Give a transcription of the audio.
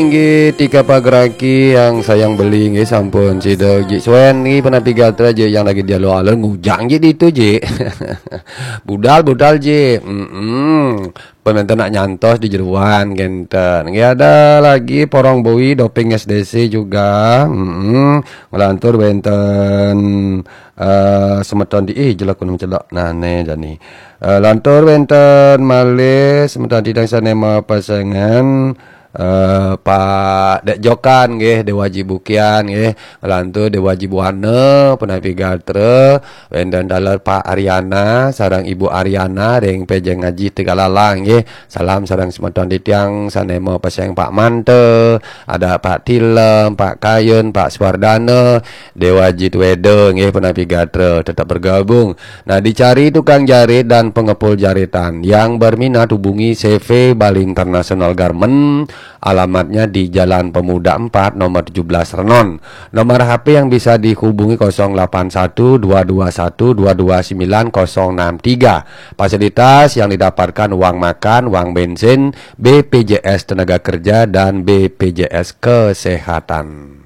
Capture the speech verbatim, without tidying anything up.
Inggih, tika pageraki yang sayang beli, nggih, sampun sida Jik Suen nggih, penapi gatra Jik, yang lagi di alun-alun ngujang Jik ditu Jik. Budal-budal Jik. Mm-mm. Peminta nak nyantos di jeruan kenten. Nggih, ada lagi Porong Bui doping S D C juga. Mm-mm. Ngelantur wenten eh, semeton di, ih, jelek gunung celok. Nah, ne jani. Eh, lantur wenten malih semeton di dang sanema pasengan eh, Pak Dek Jokan nggih, Dewaji Bukian nggih, lantur Dewaji Buana, penapi gatra, wenten taler Pak Ariana sareng Ibu Ariana ring Pejeng Ngaji Tegalalang nggih. Salam sareng semeton titiang sanema paseng Pak Manta, ada Pak Tilem, Pak Kayun, Pak Suwardana, Dewaji Tweda nggih, penapi gatra tetap bergabung. Nah, dicari tukang jarit dan pengepul jaritan. Yang berminat hubungi C V Bali International Garment, alamatnya di Jalan Pemuda empat, nomor tujuh belas Renon. Nomor H P yang bisa dihubungi kosong delapan satu dua dua satu dua dua sembilan kosong enam tiga. Fasilitas yang didapatkan uang makan, uang bensin, B P J S tenaga kerja, dan B P J S kesehatan.